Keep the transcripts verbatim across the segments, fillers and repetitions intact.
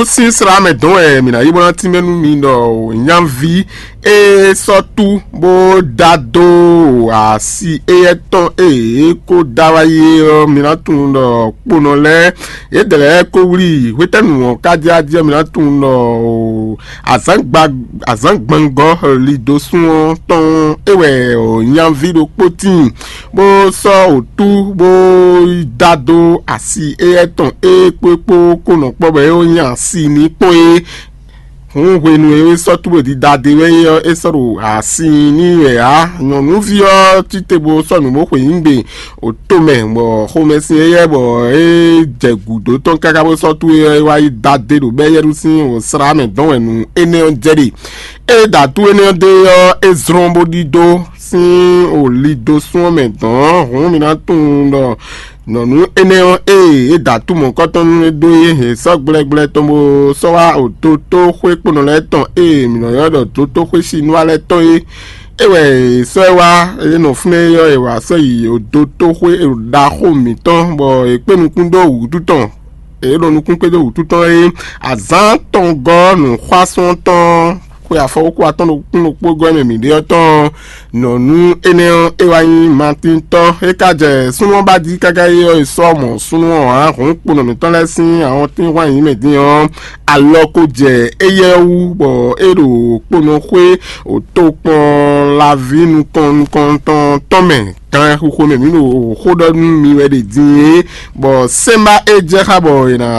Sín slá mɛ dɔn wɛ mǐ ná yi bó ná tínmɛ nú mi ɖɔ nyaví e sɔ́ tú bó dá dó asi éyɛ́ tɔn e é kó dá wá yi é ɔ́, mi ná tunwun ɖɔ kponɔ lɛ́ɛ yědɛɛ lɛ́ɛ kó wlí hwetɛ́nu ɔ́ ká jɛ ajɛ mi ná tunwun ɖɔ azǎngba azǎngbangɔ lido sún ɔ́ tɔn é wɛ nyaví ɖokpó tíin bó sɔ́ wǔtú bó yi dá dó asi éyɛ́ tɔn é kpó kpó kó nɔ kpɔ́ bɔ é nyi asi ní kpɔ́n é. Hǔn hwenu e é sɔ́ túbodídá ɖé wɛ é ɔ́, é sɔ́ ɖo asi n'i wɛ ǎ. Nyɔ̌nuví ɔ́ títebó sɔ́ nǔ bó xweyǐgbe oto mɛ, bɔ xomɛsin éyɛ́ bɔ é jɛ gǔdo tɔn káká bó sɔ́ tú é ɔ́, é wá yi dá dé ɖo bɛ́yɛ́ɖú sín wǒ slá mɛ dɔn wɛ nǔ énɛ́ ɔ́ jɛ ɖe. É ɖo atú énɛ́ ɔ́ dó é ɔ́, é zlɔ́n bó ɖidó sín wǒ lido sún ɔ́ mɛ dɔ̌n. Hǔn mi ná tunwun ɖɔ nyɔ̌nu énɛ́ ɔ́, ée é da atú mɔ̌kɔtɔn nú é dó é hɛn sɔ́ gblɛ́gblɛ́ tɔn bó sɔ́ wá ototóxwé kponɔ lɛ́ɛ tɔn e mǐ nɔ ylɔ́ ɖɔ dotóxwé Sinwá lɛ́ɛ tɔn é. É wɛ è sɔ́ ɛ wá, é nɔ fínɛ́ é ɔ́, è wǎ sɔ́ yi odotóxwé ɖaxó mǐtɔn, bɔ è kpé nukún dó wǔtu tɔn. È ɖo nukún kpé dó wǔtu tɔn é. Azǎn tɔn gɔ́ nǔxwásɔ́n tɔn xwe afɔwúxu atɔ́n ɖokpó ɖokpó gɔ́ mɛ mǐ ɖe ɔ́ tɔn. Nyɔ̌nu énɛ́ ɔ́, é wá nyí Matíntɔ́. É ka jɛ súnnu ɔ́ ba jí káká é ɔ́, è sɔ́ mɔ súnnu ɔ́ ǎ. Hǔn kponɔ mǐtɔn lɛ́ɛ sín awɔntín hwan nyǐ mɛ dín ɔ́, alɔ ko jɛ éyɛ́ wú, bɔ é ɖo kponɔxwé tokpɔn laví nukɔn nukɔntɔn tɔn mɛ. Gan xixo mɛ mǐ ɖo xó ɖɔ nú mi wɛ ɖe din é, bɔ sɛ́nbá e jɛ xá bɔ è nǎ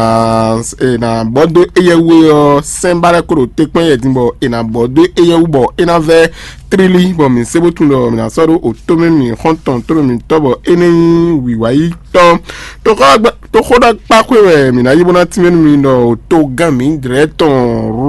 è nǎ bɔ dó éyɛ́ wú é ɔ́, sɛ́nbá lɛ́ɛ ko ɖo te kpɔ́n yɛ din bɔ è nǎ bɔ dó éyɛ́ wú bɔ é ná vɛ́ tlílí, bɔ mǐ se bó tunwun ɖɔ mǐ ná sɔ́ ɖó otó mɛ mǐ xɔ́ntɔn tó mɛ mǐtɔn bɔ é nɛ́ nyí wǐwáyítɔ́. Toxóɖɔkpáxwé wɛ mǐ ná yi bó ná tínmɛ nú mi ɖɔ togán mǐdrɛ́ tɔn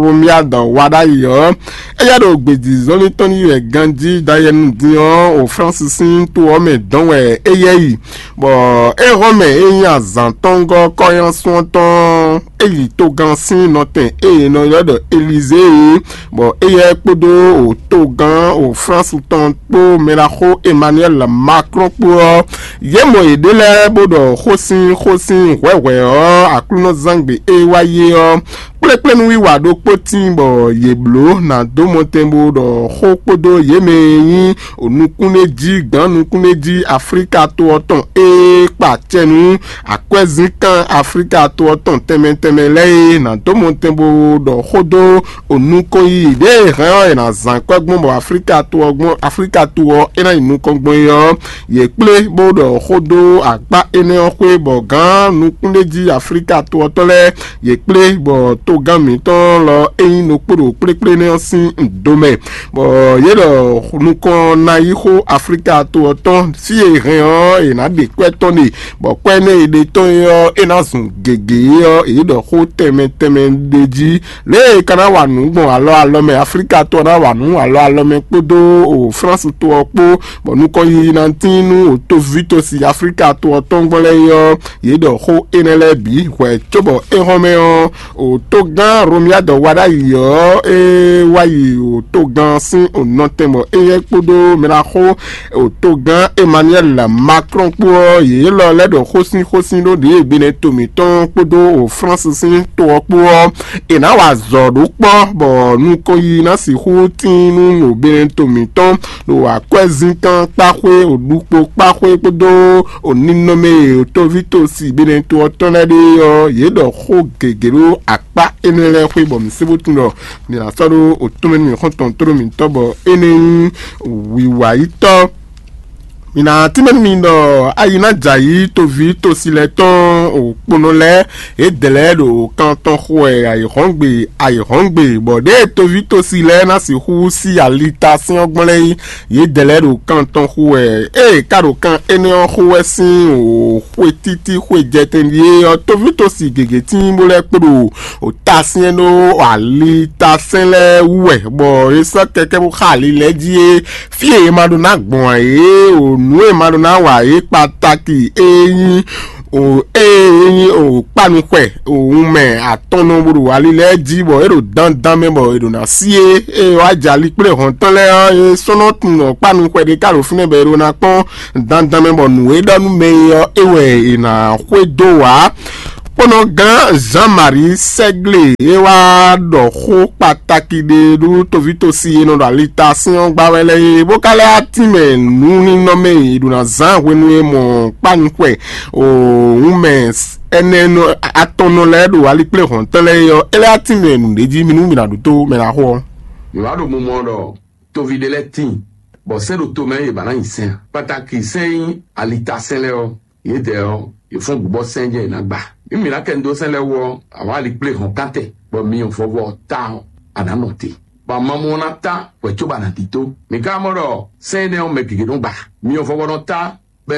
Romiad wa ɖ'ayǐ ɔ́, éyɛ́ ɖo gbějízɔ́lín tɔn ní wɛ ganjí dayɛnu din ɔ́, o Flánsi sín to ɔ́ mɛ dɔn wɛ éyɛ́ yi, bɔ é hɔn mɛ e nyí azǎn tɔn gɔ́ kɔ́nyásun ɔ́ tɔn é yi togán sín nɔtɛn e è nɔ ylɔ́ ɖɔ Elizée é, bɔ éyɛ́ kpódó o togán o Flánsi tɔn kpó mɛɖaxó Emmanuel Macron kpó ɔ́, yě mɔ yěɖée lɛ́ɛ bó ɖɔ xó sín xó sín hwɛ̌hwɛ́ ɔ́, Aklúnɔzángbe e wá yé ɔ́, kplékplénúwiwa ɖokpó tíin bɔ yě bló ná dó mɔtɛn bó ɖɔ xó kpódó yě mɛ e nyí nukúnɖéjí gǎn nukúnɖéjí Aflíka to ɔ́ tɔn e kpa acɛ nú akwɛ́zínkán Aflíka to ɔ́ tɔn tɛnmɛ tɛnmɛ lɛ́ɛ é ná dó mɔtɛn bó ɖɔ xó dó nukɔn yiyi ɖěe hɛn ɔ́ è nǎ zán kwɛ́ gbɔn bɔ Aflíka to ɔ́ gbɔn Aflíka to ɔ́ é ná yi nukɔn gbɔn é ɔ́, yě kplé bó ɖɔ xó dó akpá énɛ́ ɔ́ xwé bɔ gǎn nukúnɖéjí Aflíka to ɔ́ tɔn lɛ́ɛ yě kplé bɔ togán mǐtɔn lɔ é nyí ɖokpó ɖo kplékplé énɛ́ ɔ́ sín do mɛ, bɔ yě ɖɔ nukɔn ná yi xó Aflíka to ɔ́ tɔn fí e hɛn ɔ́ è nǎ ɖe kwɛ́ tɔn ɖe, bɔ kwɛ́ énɛ́ e ɖe tɔn é ɔ́ é ná zun gěgé é ɔ́, yě ɖɔ xó tɛnmɛ tɛnmɛ ɖ'é jí. Lě e è ka ná wa nǔ gbɔn alɔ alɔ mɛ Aflíka to ɔ́ ná wa nǔ alɔ alɔ mɛ kpódó o Flánsi to ɔ́ kpó, bɔ nukɔn yiyi ná tín nú o toví tosi Aflíka to ɔ́ tɔn gbɔn lɛ́ɛ é ɔ́, yě ɖɔ xó énɛ́ lɛ́ɛ bǐ hwɛ̌ cóbɔ é hɔn mɛ ɔ́, o togán Romiadɔ wa ɖ'ayǐ ɔ́, é wá yi o togán sín o nɔtɛn bɔ éyɛ́ kpódó mɛɖaxó o togán Emmanuel Macron kpó ɔ́, yě lɔ lɛ́ ɖɔ xósínxósín ɖó ɖěe Benɛto mǐtɔn kpódó o Flánsi sín to ɔ́ kpó ɔ́, è nǎ wa azɔ̌ ɖó kpɔ́, bɔ nukɔn yiyi ná sixú tíin nú ɖo Benɛto mǐtɔn, ɖo akwɛ́zínkán kpáxwé, ɖukpo kpáxwé kpódó ninɔmɛ e toví tosi Benɛto ɔ́ tɔn lɛ́ɛ ɖe ɔ́, yě ɖɔ xó gěgé ɖó akpá énɛ́ lɛ́ɛ xwé, bɔ mǐ se bó tunwun ɖɔ mǐ ná sɔ́ ɖó otɔ́mɛ nú mǐ xɔ́ntɔn tlóló mǐtɔn, bɔ é nɛ́ nyí wǐwayítɔ́. Mǐ ná tínmɛ nú mi ɖɔ ayi ná jɛ ayǐ toví tosi lɛ́ɛ tɔn, òkponɔ lɛ́ɛ, yědɛɛ lɛ́ɛ ɖo kan tɔn xo wɛ ayǐhɔ́ngbe ayǐhɔ́ngbe, bɔ ɖěe toví tosi lɛ́ɛ ná sixú sí alitasɛ́n ɔ́ gbɔn lɛ́ɛ é, yědɛɛ lɛ́ɛ ɖo kan tɔn xo wɛ. Ée è ka ɖo kan énɛ́ ɔ́ xo wɛ sín xwe títí xwe jɛtɛn ɖíe ɔ́, toví tosi gěgé tíin bó lɛ́ kpo ɖo o ta syɛ́n ɖó ali ta sɛ́n lɛ́ɛ wú wɛ, bɔ è sɔ́ kɛkɛ́ bó xa ali lɛ́ɛ jí é. Fí e è ma ɖó ná gbɔn ǎ é, o nǔ e è ma ɖó ná wa é kpatáki é nyí o ée é nyí o kpánuxwɛ o wunmɛ atɔnnɔ bó ɖo ali lɛ́ɛ jí, bɔ é ɖo dandan mɛ bɔ è ɖo ná sí é. Ée wá jɛ ali kplé hɔn tɔn lɛ́ɛ ɔ́, é sɔ́ nɔ tunwun ɖɔ kpánuxwɛ ɖé ka ɖo fínɛ́ bɔ è ɖó ná kpɔ́n dandan mɛ bɔ nǔ e ɖɔ nú mɛ é ɔ́, é wɛ è nǎ xwedó ǎ. Kpɔ́nɔgán Jean-Marie Sɛ́glé é wá ɖɔ xó kpatáki ɖé ɖó tovítosi e nɔ ɖo alita sín ɔ́ gbá wɛ lɛ́ɛ é, bó ka lɛ́ wá tínmɛ nǔnínɔ́ mɛ e è ɖo ná zán hwenu e mɔ kpánuxwɛ òun mɛ ɛnɛ atɔn nɔ lɛ́ɛ ɖo alikpléhɔ̌ntɔn lɛ́ɛ é ɔ́, é lɛ́ wá tínmɛ nǔɖé jí mi nú mi ná ɖu tó mɛ ná xo ɔ́. Mi wá ɖo mumɔ ɖɔ toví ɖé lɛ́ɛ tíin, bɔ sɛ́n ɖo tomɛ yě ba ná nyi sɛ́n ǎ. Kpatáki sɛ́n e nyí alitasɛ́n lɛ́ɛ ɔ́, yědɛɛ ɔ́, yě fɔ́n gǔ bɔ sɛ́n jɛ yě ná gba. Nú mǐ ná kɛ nu dó sɛ́n lɛ́ɛ wú ɔ́, a wǎ ali kplé hɔn kántɛ, bɔ myɔ vɔvɔ ɔ́ ta ɔ́, a nǎ nɔ te, bɔ amamú ɔ́ ná ta hwɛ̌ cóbɔ a nǎ dídó. Mǐ ka mɔ ɖɔ sɛ́n énɛ́ ɔ́, mɛ gěgé nɔ gba. Myɔ vɔvɔ nɔ ta, bɔ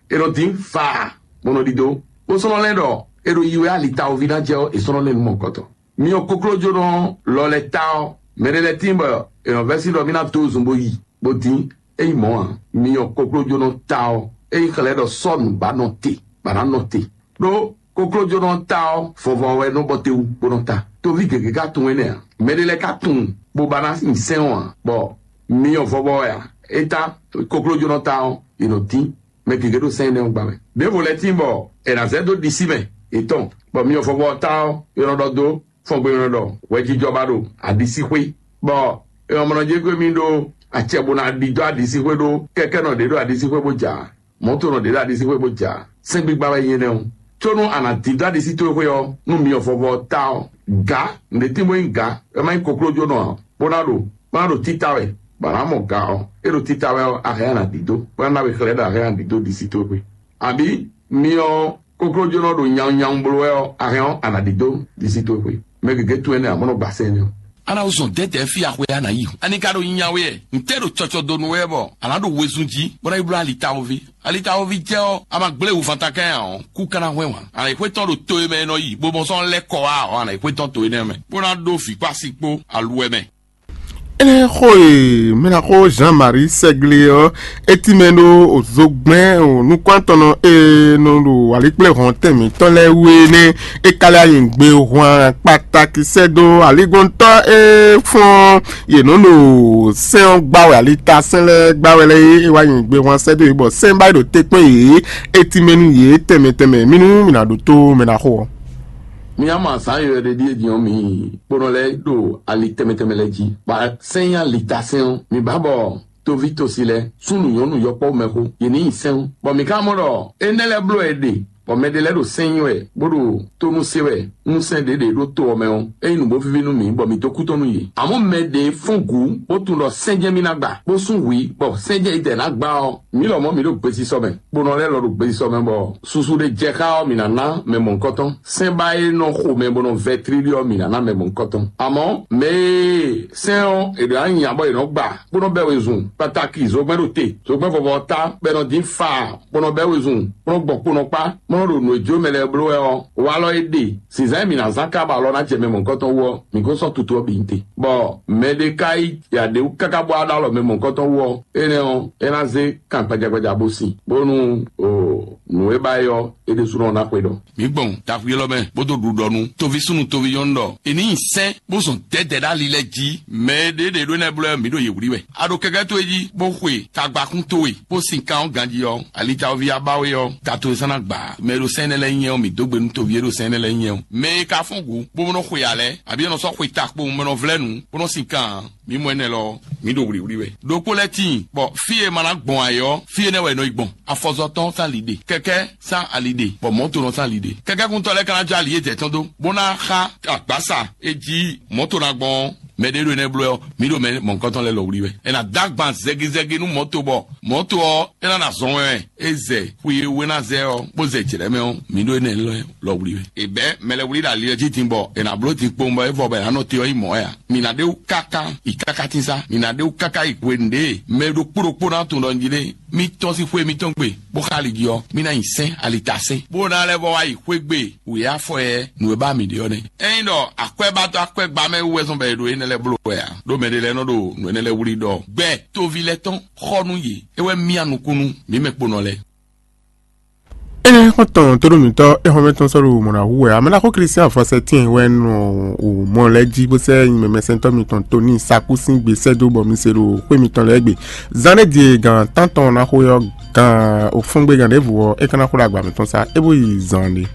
è nɔ dín faa, bó nɔ ɖidó, bó sɔ́ nɔ lɛ́ ɖɔ è ɖo yi wɛ alitawoví ná jɛ ɔ́, è sɔ́ nɔ lɛ́ nǔ mɔ̌hunkɔtɔn. Myɔ koklójónɔ lɔ lɛ́ɛ ta ɔ́, mɛ ɖé lɛ́ɛ tíin bɔ è nɔ vɛ́ sí ɖɔ mì ná dó zun bó yi, bó dín. É nyí mɔ̌ ǎ, myɔ koklójónɔ ta ɔ́, é nyí xlɛ́ ɖɔ sɔ́ nǔ ba nɔ te, ba ná nɔ te. Ɖó koklójónɔ ta ɔ́, vɔvɔ wɛ nɔ bɔ te wú bó nɔ ta. Toví gěgé ka tunwun énɛ́ ǎ. Mɛ ɖé lɛ́ɛ ka tunwun bó ba ná nyi sɛ́n ɔ́ ǎ, bɔ myɔ vɔvɔ wɛ ǎ. É ta koklójónɔ ta ɔ́, è nɔ dín. Mɛ gěgé ɖo sɛ́n énɛ́ ɔ́ gba wɛ. Ɖěvo lɛ́ɛ tíin bɔ è nǎ zɛ dó ɖisí mɛ yětɔn, bɔ myɔ vɔvɔ ɔ́ ta ɔ́, è nɔ ɖɔ dó fɔngbénɔ ɖɔ hwɛjijɔ ba ɖo aɖisíxwé, bɔ è nɔ mɔ nɔ jɛ gbé mì ɖó acɛ bó ná ɖidó aɖisíxwé ɖó kɛkɛ́nɔ ɖě ɖo aɖisíxwé bó ja, mɔ̌tonɔ ɖě ɖo aɖisíxwé bó ja. Sɛ́n gbígbá wɛ nyí énɛ́ ɔ́. Có nú a nǎ dídó aɖisí towe xwé ɔ́, nú myɔ vɔvɔ ɔ́ ta ɔ́, gǎ, nǔɖé tín bó nyí gǎ, é má nyí koklójónɔ ǎ, bó ná ɖo bó ná ɖo títá wɛ, bɔ a nǎ mɔ gǎ ɔ́, é ɖo títá wɛ ɔ́, a hɛn a nǎ dídó, bó ná ná we xlɛ́ ɖɔ a hɛn a nǎ dídó ɖisí towe xwé. Abǐ myɔ koklójónɔ ɖo nyawunnyawun bló wɛ ɔ́, a hɛn ɔ́, a nǎ ɖidó ɖisí towe xwé. Mɛ gěgé tunwun énɛ́ ǎ, bó nɔ gba sɛ́n énɛ́ ɔ́. A ná zɔn dɛ̌dɛ̌ fí axwe a nǎ yi hǔn. Ani ka ɖo nyinya we wɛ? Ntɛ́ ɖo cɔcɔ dó nú wɛ bɔ a nǎ ɖo wezun jí, bó ná yi bló alitawoví? Alitawoví jɛ ɔ́, a ma gblé wǔvanta kɛn ǎ ɔ́, kú ka ná hwɛ́n wǎn. A nǎ yi xwétɔn ɖo to e mɛ è nɔ yi, bó mɔ sɔ́ lɛ́ kɔ wá ɔ́, a nǎ yi xwétɔn to énɛ́ mɛ, bó ná ɖó vǐ kpó asi kpó aluwɛ mɛ. Énɛ́ xó e mɛɖaxó Jean-Marie Sɛglé ɔ́, é tínmɛ ɖó zogbɛ́n nukɔntɔnnɔ e nɔ ɖo alikpléhɔn tɛn mǐtɔn lɛ́ɛ wú é nɛ́. É ka lɛ́ anyǐgbe hwan kpatakisɛ́ dó aligbɔntɔ́ e fɔ́n yě nɔ ɖo sɛ́n ɔ́ gbá wɛ, alitasɛ́n lɛ́ɛ gbá wɛ lɛ́ɛ é wá nyǐgbe hwan sɛ́ dó yě, bɔ sɛ́n ba yi ɖo te kpɔ́n yě, é tínmɛ nú yě tɛnmɛ tɛnmɛ. Mì nú mì nǎ ɖótó mɛ ná xo ɔ́. Mi ama zǎn yɔyɔ́ ɖé ɖíe din ɔ́, mi kponɔ lɛ́ɛ ɖo ali tɛnmɛ tɛnmɛ lɛ́ɛ jí, bɔ sɛ́n nyí alitasɛ́n ɔ́, mi ba bɔ toví tosi lɛ́ɛ, súnnu nyɔ̌nu yɔkpɔ́ mɛxó, yě ní nyi sɛ́n ɔ́. Bɔ mǐ ka mɔ ɖɔ énɛ́ lɛ́ɛ bló wɛ è ɖe, bɔ mɛ ɖé lɛ́ɛ ɖo sɛ́n nyi wɛ, bó ɖo tónú se wɛ, nú sɛ́n ɖě ɖě ɖó to ɔ́ mɛ ɔ́, é nyí nǔ bó víví nú mǐ, bɔ mǐ dó kú tɔn nú yě. Amɔ̌ mɛ ɖě fɔ́n gǔ, bó tunwun ɖɔ sɛ́n jɛ́n mì ná gba, bó sú hwǐ, bɔ sɛ́n jɛ́n idɛɛ ná gba ɔ́, mǐ lɔmɔ̌ mǐ ɖo gbesisɔ mɛ. Kponɔ lɛ́ɛ lɔ ɖo gbesisɔ mɛ, bɔ susu ɖé jɛ xá ɔ́, mǐ ná ná mɛ mɔ̌hunkɔtɔn. Sɛ́n ba e nɔ xo mɛ bó nɔ vɛ tlílí ɔ́, mǐ ná ná mɛ mɔ̌hunkɔtɔn. Amɔ̌ mɛ e sɛ́n ɔ́, è ɖǒ ná nya bɔ è nɔ gba, bó nɔ bɛ́ wezun, kpatáki zogbɛ́n ɖo te, zogbɛ́n vɔvɔ ɔ́ ta, bɔ è nɔ dín faa, bó nɔ bɛ́ wezun, bó nɔ gbɔn kponɔ kpá, bó nɔ ɖo nǔ e jó mɛ lɛ́ɛ bló wɛ ɔ́, walɔ e ɖe zǐnzán e mǐ ná zán kába lɔ ná jɛ mɛ mɔ̌hunkɔtɔn wú ɔ́, mǐ ko sɔ́ tutu ɔ́ bǐ nyi te. Bɔ mɛ ɖé ka yi ya ɖě wú káká bɔ á ɖó alɔ mɛ mɔ̌hunkɔtɔn wú ɔ́, énɛ́ ɔ́, é ná zé kan gbajagbaja bó sin, bónú nǔ e ba é ɔ́, é ɖésúnɔ ná xwedɔ. Mǐ gbɔn taxwi élɔ́ mɛ, bó dó ɖu ɖɔ nú toví súnnu toví nyɔ́nu ɖɔ è ní nyi sɛ́n, bó zɔn dɛ̌dɛ̌ ɖo ali lɛ́ɛ jí. Mɛ e ɖě ɖě ɖó énɛ́ blɔ́ ɔ́, mǐ ɖo yě wlí wɛ. A ɖo kɛkɛ́ towe jí, bó xwe tagbaxún towe, bó sin kan ɔ́ ganjí ɔ́, alitawoví abáwe ɔ́, ta towe sán ná gbǎ. Mɛ e ɖo sɛ́n énɛ́ lɛ́ɛ nyɛ ɔ́, mǐ dó gbe nú toví e ɖo sɛ́n énɛ́ lɛ́ɛ nyɛ ɔ́. Mɛ e ka fɔ́n gǔ, bó nɔ xwe alɛ, abǐ è nɔ sɔ́ xwe ta kpowun, bó nɔ vlɛ́ nǔ, bó nɔ sin kan ǎ. Mǐ mɔ énɛ́ lɔ ɔ́, mǐ ɖo wlǐwlí wɛ. Ɖokpó lɛ́ɛ tíin, bɔ fí e ma ná gbɔn ayǐ ɔ́, fí énɛ́ wɛ è nɔ yi gbɔn. Afɔzɔtɔ́ sán ali ɖe, kɛkɛ́ sán ali ɖe, bɔ mɔ̌tonɔ sán ali ɖe. Kɛkɛ́kuntɔ́ lɛ́ɛ ka ná jó ali yědɛɛ tɔn dó, bó ná xá agbǎsa e jí mɔ̌to ná gbɔn ɔ́, mɛ ɖé ɖo énɛ́ bló ɛ ɔ́, mǐ ɖo mɛ mɔ̌hunkɔtɔn lɛ́ɛ lɔ wlí wɛ. È nǎ dó agban zɛgizɛgi nú mɔ̌to, bɔ mɔ̌to ɔ́, é ná ná zɔn wɛ. É zɛ xwi e wú é ná zɛ ɔ́, bó zɛ jlɛ̌ mɛ ɔ́, mǐ ɖo énɛ́ lɔ lɔ wlí wɛ. È bɛ̌ mɛ lɛ́ɛ wlí ɖo ali ɔ́ jí din, bɔ è nǎ bló din kpowun bɔ é vɔ bɔ è nǎ nɔ te ɔ́ nyí mɔ̌ wɛ ǎ. Mǐ ná ɖe wú káká yi káká tínsá, mǐ ná ɖe wú káká yi hwenu ɖě mɛ ɖokpó ɖokpó ná tunwun ɖɔ un jí ɖe. Mì tɔ́n sín xwé mǐtɔn gbe, bó xa ali jí ɔ́, mì ná nyi sɛ́n alitasɛ́n, bó ná lɛ́ vɔ wá yi xwé gbe wǔyá afɔ yɛ nǔ e ba mǐ ɖe ɔ́ nɛ́. Ényí ɖɔ akwɛ́batɔ́ akwɛ́gbamɛ wú wɛ zɔn bɔ è ɖo énɛ́ lɛ́ɛ bló wɛ ǎ, ɖó mɛɖé lɛ́ɛ nɔ ɖo nǔ énɛ́ lɛ́ɛ wlí ɖɔ gbɛ toví lɛ́ɛ tɔn xɔ nú yě, é wɛ myá nukún nú mǐ mɛ kponɔ lɛ́ɛ. Énɛ́ xɔ́ntɔn tóɖó mǐtɔn é xɔ́mɛ tɔn sɔ́ ɖo mɔ̌ ná hu wɛ ǎ. Mɛ ná xó Klístián Fɔsɛtín wɛ nɔ wò mɔ lɛ́ɛ jí bó sɛ́ nyi mɛmɛsɛntɔ́ mitɔn Toníi Sakú sín gbe sɛ́ dó bɔ mi se ɖo xwé mitɔn lɛ́ɛ gbe. Zán ɖé din e gǎn tántɔn ná xo ɔ́, gǎn òfúngbé gǎn ɖěvo ɔ́, é ka ná xo ɖo agba mǐtɔn sá, é bó yi zan ɖé.